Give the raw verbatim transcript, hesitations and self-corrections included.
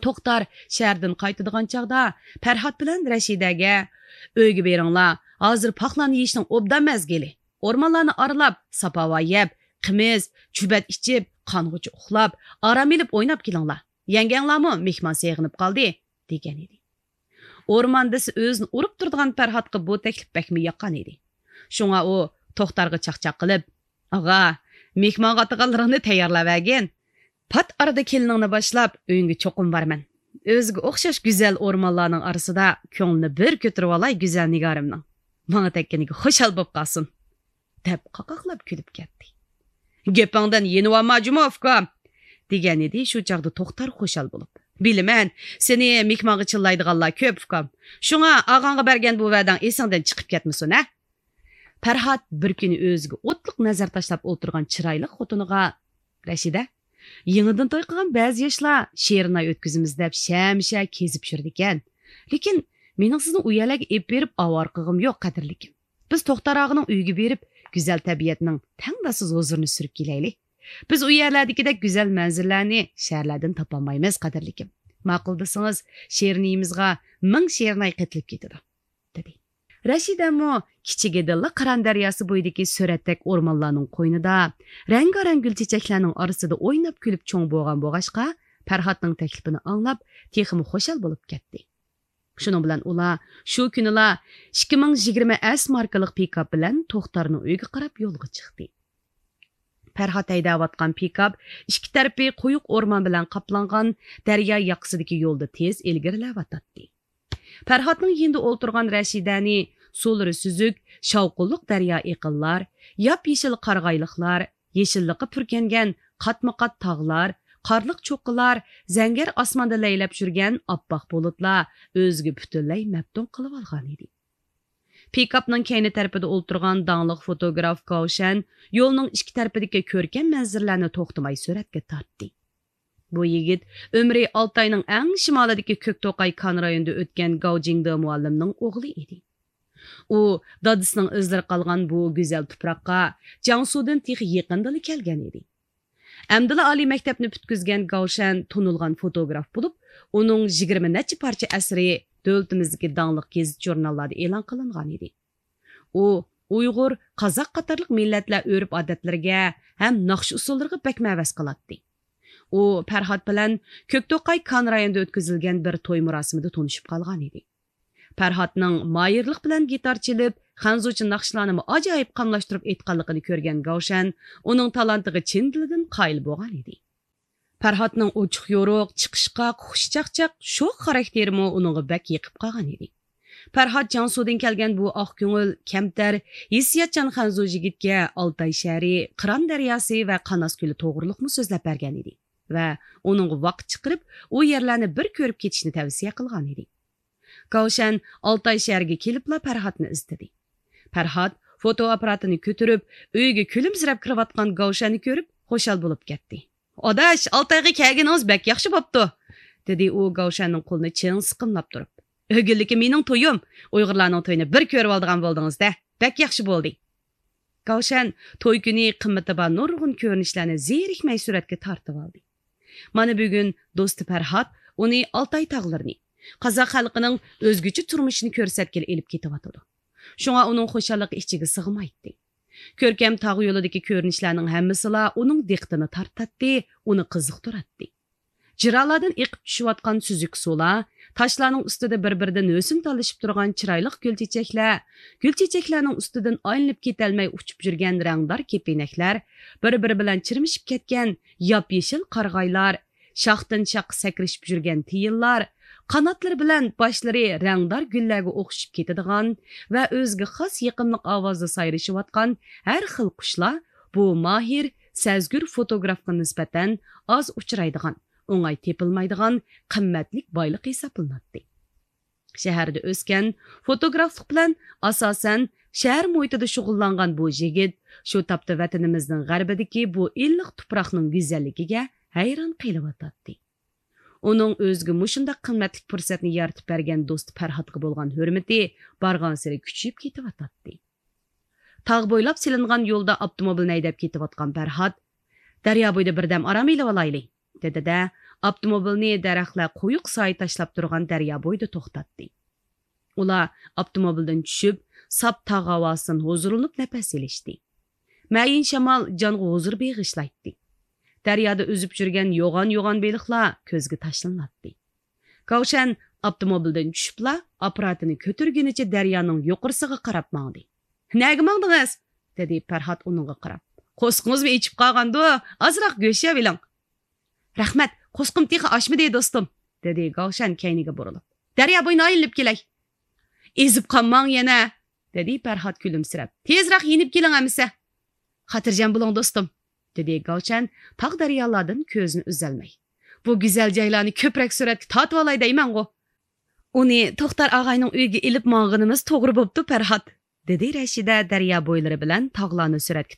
توختار شەھەردىن قايتىدىغان چاغدا پەرھات بىلەن رەشىدەگە، «ئۆيگە بېرىڭلار، ھازىر پاقلارنى يېيىشنىڭ ئوبدان مەزگىلى. ئورمانلارنى ئارىلاپ، ساپاۋا يەپ، قىمىز، چۈبەت ئىچىپ، قانغۇچە ئۇخلاپ، ئارام ئېلىپ ئويناپ كېلىڭلار. يەڭگەڭلارمۇ مېھمان سېغىنىپ قالدى» دېگەن ئىدى. ئورمان دېسە ئۆزىنى ئۇرۇپ تۇرىدىغان پەرھاتقا بۇ تەكلىپ بەكمۇ ياققان ئىدى. شۇڭا ئۇ توختارغا چاقچاق قىلىپ، «ئاغا، مېھمانغا ئاتىغانلىرىڭنى تەييارلاۋەرگىن. پات ئارىدا كېلىنىڭنى باشلاپ، ئۆيۈڭگە چوقۇم بارىمەن. ئۆزىگە ئوخشاش گۈزەل ئورمانلارنىڭ ئارىسىدا كۆڭلىنى بىر كۆتۈرۈۋالاي گۈزەل نىگارىمنىڭ. ماڭا تەگكىنىگە خۇشال بوپ قالسۇن» دەپ قاقاقلاپ كۈلۈپ كەتتى. «گېپىڭدىن يېنىۋالما جۇمۇ، ئۇكام!» دېگەن ئىدى شۇ چاغدا توختار خۇشال بولۇپ. «بىلىمەن، سېنى مېھمانغا چىللايدىغانلار كۆپ، ئۇكام. شۇڭا ئاغاڭغا بەرگەن بۇ ۋەدەڭ ئېسىڭدىن چىقىپ كەتمىسۇن، ھە؟» پەرھات بىر كۈنى ئۆزىگە ئوتلۇق نەزەر تاشلاپ ئولتۇرغان چىرايلىق خوتۇنىغا، «رەشىدە، يېڭىدىن توي قىلغان بەزى ياشلار شېرىن ئاي ئۆتكۈزىمىز دەپ شەمشە كېزىپ يۈرىدىكەن. لېكىن مېنىڭ سىزنى ئۇ يەرلەرگە ئېلىپ بېرىپ ئاۋارە قىلغۇم يوق، قەدىرلىكىم. بىز توختار ئاغىنىڭ ئۆيىگە بېرىپ، گۈزەل تەبىئەتنىڭ تەڭداشسىز ھۇزۇرىنى سۈرۈپ كېلەيلى. بىز ئۇ يەرلەردىكىدەك گۈزەل مەنزىرىلەرنى شەھەرلەردىن تاپالمايمىز، قەدىرلىكىم. ماقۇل دېسىڭىز، شېرىنىيىمىزغا مىڭ شېرىناي قېتىلىپ كېتىدۇ» دېدى. رەشىدەمۇ كىچىكىدىنلا قىران دەرياسى بويىدىكى سۈرەتتەك ئورمانلارنىڭ قوينىدا، رەڭگارەڭ گۈل چېچەكلەرنىڭ ئارىسىدا ئويناپ كۈلۈپ چوڭ بولغان بولغاچقا، پەرھاتنىڭ تەكلىپىنى ئاڭلاپ، تېخىمۇ خۇشال بولۇپ كەتتى. شۇنىڭ بىلەن ئۇلار شۇ كۈنىلا ئىككى مىڭ يىگىرمە ئەس ماركىلىق پىكاپ بىلەن توختارنىڭ ئۆيىگە قاراپ يولغا چىقتى. پەرھات ھەيدەۋاتقان پىكاپ ئىككى تەرىپى قويۇق ئورمان بىلەن قاپلانغان دەريا ياقىسىدىكى يولدا تېز ئىلگىرىلەۋاتاتتى. پەرھاتنىڭ يېنىدا ئولتۇرغان رەشىدەنى سۇلىرى سۈزۈك، شاۋقۇنلۇق دەريا ئېقىنلار، ياپيېشىل قارىغايلىقلار، يېشىللىققا پۈركەنگەن قاتمۇقات تاغلار، قارلىق چوققىلار، زەڭگەر ئاسماندا لەيلەپ يۈرگەن ئاپئاق بۇلۇتلار ئۆزىگە پۈتۈنلەي مەپتۇن قىلىۋالغانىدى. پىكاپنىڭ كەينى تەرىپىدە ئولتۇرغان داڭلىق فوتوگراف گاۋشەن يولنىڭ ئىككى تەرىپىدىكى كۆركەم مەنزىرىلەرنى توختىماي سۈرەتكە تارتتى. بۇ يىگىت ئۆمرى ئالتاينىڭ ئەڭ شىمالىدىكى كۆكتوقاي كان رايونىدا ئۆتكەن گاۋ جىڭدې مۇئەللىمنىڭ ئوغلى ئىدى. ئۇ دادىسىنىڭ ئىزلىرى قالغان بۇ گۈزەل تۇپراققا جياڭسۇدىن تېخى يېقىندىلا كەلگەن ئىدى. ئەمدىلا ئالىي مەكتەپنى پۈتكۈزگەن گاۋشەن تونۇلغان فوتوگراف بولۇپ، ئۇنىڭ يىگىرمە نەچچە پارچە ئەسىرى دۆلىتىمىزدىكى داڭلىق گېزىت-ژۇرناللاردا ئېلان قىلىنغان ئىدى. ئۇ ئۇيغۇر، قازاق قاتارلىق مىللەتلەر ئۆرپ-ئادەتلىرىگە ھەم ناخشا-ئۇسسۇللىرىغا بەكمۇ ھەۋەس قىلاتتى. ئۇ پەرھات بىلەن كۆكتوقاي كان رايونىدا ئۆتكۈزۈلگەن بىر توي مۇراسىمىدا تونۇشۇپ قالغانىدى. پەرھاتنىڭ ماھىرلىق بىلەن گىتار چېلىپ، خەنزۇچە ناخشىلارنىمۇ ئاجايىپ قاملاشتۇرۇپ ئېيتقانلىقىنى كۆرگەن گاۋشەن ئۇنىڭ تالانتىغا چىن دىلىدىن قايىل بولغانىدى. پەرھاتنىڭ ئوچۇق-يورۇق، چىقىشقاق، خۇشچاقچاق، شوخ خاراكتېرىمۇ ئۇنىڭغا بەك يېقىپ قالغانىدى. پەرھات جياڭسۇدىن كەلگەن بۇ ئاق كۆڭۈل، كەمتەر، ھېسسىياتچان خەنزۇ يىگىتكە ئالتاي شەھىرى، قىران دەرياسى ۋە قاناس كۆلى توغرۇلۇقمۇ سۆزلەپ بەرگەنىدى ۋە ئۇنىڭغا ۋاقىت چىقىرىپ، ئۇ يەرلەرنى بىر كۆرۈپ كېتىشنى تەۋسىيە قىلغانىدى. گاۋشەن ئالتاي شەھىرىگە كېلىپلا پەرھاتنى ئىزدىدى. پەرھات فوتو ئاپپاراتىنى كۆتۈرۈپ، ئۆيگە كۈلۈمسىرەپ كىرىۋاتقان گاۋشەننى كۆرۈپ، خۇشال بولۇپ كەتتى. «ئاداش، ئالتايغا كەلگىنىڭىز بەك ياخشى بوپتۇ!» دېدى ئۇ گاۋشەننىڭ قولىنى چىڭ سىقىملاپ تۇرۇپ. «ئۆگۈنلۈكى مېنىڭ تويۇم! ئۇيغۇرلارنىڭ تويىنى بىر كۆرۈۋالىدىغان بولدىڭىز-دە! بەك ياخشى بولدى!» گاۋشەن توي كۈنى قىممىتى بار نۇرغۇن كۆرۈنۈشلەرنى زېرىكمەي سۈرەتكە تارتىۋالدى. مانا بۈگۈن دوستى پەرھات ئۇنى ئالتاي تاغلىرىنى، قازاق خەلقىنىڭ ئۆزگىچە تۇرمۇشىنى كۆرسەتكىلى ئېلىپ كېتىۋاتىدۇ. شۇڭا ئۇنىڭ خۇشاللىقى ئىچىگە سىغمايتتى. كۆركەم تاغ يولىدىكى كۆرۈنۈشلەرنىڭ ھەممىسىلا ئۇنىڭ دىققىتىنى تارتاتتى، ئۇنى قىزىقتۇراتتى. جىرالاردىن ئېقىپ چۈشۈۋاتقان سۈزۈك سۇلار، تاشلارنىڭ ئۈستىدە بىر-بىرىدىن ھۆسن تالىشىپ تۇرغان چىرايلىق گۈل چېچەكلەر، گۈل چېچەكلەرنىڭ ئۈستىدىن ئايلىنىپ كېتەلمەي ئۇچۇپ يۈرگەن رەڭدار كېپىنەكلەر، بىر-بىرى بىلەن چىرمىشىپ كەتكەن ياپيېشىل قارىغايلار، شاختىن شاخقا سەكرىشىپ يۈرگەن تىيىنلار، قاناتلىرى بىلەن باشلىرى رەڭدار گۈللەرگە ئوخشىشىپ كېتىدىغان ۋە ئۆزىگە خاس يېقىملىق ئاۋازدا سايرىشىۋاتقان ھەر خىل قۇشلار بۇ ماھىر، سەزگۈر فوتوگرافقا نىسبەتەن ئاز ئۇچرايدىغان، ئوڭاي تېپىلمايدىغان قىممەتلىك بايلىق ھېسابلىناتتى. شەھەردە ئۆسكەن، فوتوگرافلىق بىلەن ئاساسەن شەھەر مۇھىتىدا شۇغۇللانغان بۇ يىگىت شۇ تاپتا ۋەتىنىمىزنىڭ غەربىدىكى بۇ ئىللىق تۇپراقنىڭ گۈزەللىكىگە ھەيران قېلىۋاتاتتى. ئۇنىڭ ئۆزىگە مۇشۇنداق قىممەتلىك پۇرسەتنى يارىتىپ بەرگەن دوستى پەرھاتقا بولغان ھۆرمىتى بارغانسېرى كۈچىيىپ كېتىۋاتاتتى. تاغ بويلاپ سېلىنغان يولدا ئاپتوموبىلنى ھەيدەپ كېتىۋاتقان پەرھات، «دەريا بويىدا بىردەم ئارام ئېلىۋالايلى» دېدى-دە، ئاپتوموبىلنى دەرەخلەر قويۇق سايە تاشلاپ تۇرغان دەريا بويىدا توختاتتى. ئۇلار ئاپتوموبىلدىن چۈشۈپ، ساپ تاغ ھاۋاسىدىن ھۇزۇرلىنىپ نەپەس ئېلىشتى. مەيىن شامال جانغا ھۇزۇر بېغىشلايتتى. دەريادا ئۈزۈپ يۈرگەن يوغان-يوغان بېلىقلار كۆزگە تاشلىناتتى. گاۋشەن ئاپتوموبىلدىن چۈشۈپلا، ئاپپاراتىنى كۆتۈرگىنىچە دەريانىڭ يۇقىرىسىغا قاراپ ماڭدى. «نەگە ماڭدىڭىز؟» دېدى پەرھات ئۇنىڭغا قاراپ. «قورسىقىڭىزمۇ ئېچىپ قالغاندۇ، ئازراق گۆش يەۋېلىڭ.» «رەھمەت، قورسىقىم تېخى ئاچمىدى، دوستۇم،» دېدى گاۋشەن كەينىگە بۇرۇلۇپ. «دەريا بويىنى ئايلىنىپ كېلەي.» «ئېزىپ قالماڭ يەنە.» دېدى پەرھات كۈلۈمسىرەپ. «تېزراق يېنىپ كېلىڭ ئەمىسە.» «خاتىرجەم بولۇڭ، دوستۇم،» دېدى گاۋشەن تاغ دەريالاردىن كۆزىنى ئۈزەلمەي. «بۇ گۈزەل جايلارنى كۆپرەك سۈرەتكە تارتىۋالاي دەيمەنغۇ.» «ئۇنى توختار ئاغاينىڭ ئۆيىگە ئېلىپ ماڭغىنىمىز توغرا بوپتۇ، پەرھات،» دېدى رەشىدە دەريا بويلىرى بىلەن تاغلارنى سۈرەتكە